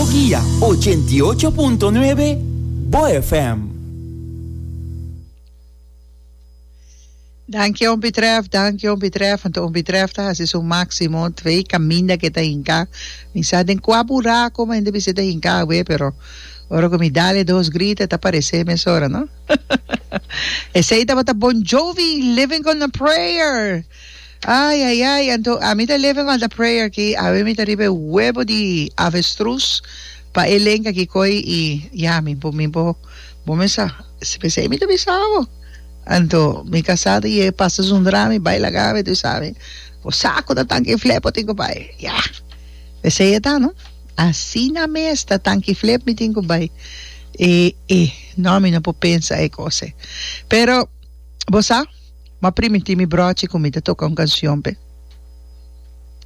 Bo guia 88.9 Bo FM. Danki Ompi Tref, danki Ompi Tref, anto Ompi Tref ta hasi su maximo twee caminda ke ta hinca, mi sa den cua buraco ma hende bisa ta hinca awe pero ora cu mi dal e dos grita e ta parece mesora no. Esey tabata Bon Jovi living on a prayer ay ay ay anto ami ta living on the prayer aki awe mi ta riba e webo di avestruz pa e lenga aki koy y ya mi bo mi bo bo mesa pesey mi ta bisa bo. Anto mi kasá ta yega pasa zundra mi bai laga mi tu sabi bo sa ku ta tanki flip bo tin ku bai ya esei e ta no asina mes ta tanki flip mi tin ku bai e e no mi no por pensa e kos ei pero bo sa mi a primintí mi brochi ku mi ta toka un kanshon p'e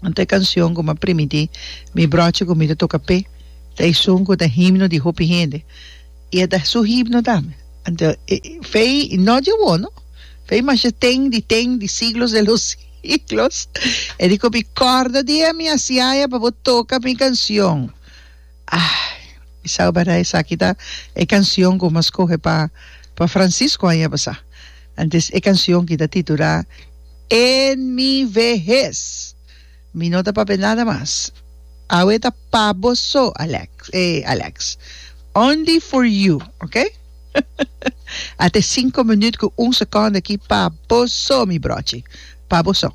anto e kanshon ku mi a primintí mi brochi ku mi ta toka p'e ta esun ku ta himno di hopi hende. I e ta su himno tambe. Anto e fei no dje wou no. Fei masha ten di ten di siglos de los siglos. E di ku mi kòrda dia mi hasiaya pa bo toka mi kansion. Ai, mi sa bèrdat esaki ta e kansion ku mi a skohe pa pa Francisco aña pasá. Antes e kansion ki ta titulá En mi vehez. Mi no ta papia nada mas. Awe ta pa bo so, Alex, eh, Alex. Only for you, ok? Ate cinco minuut cu un seconde aki pa bo so, mi brochi. Pa bo so.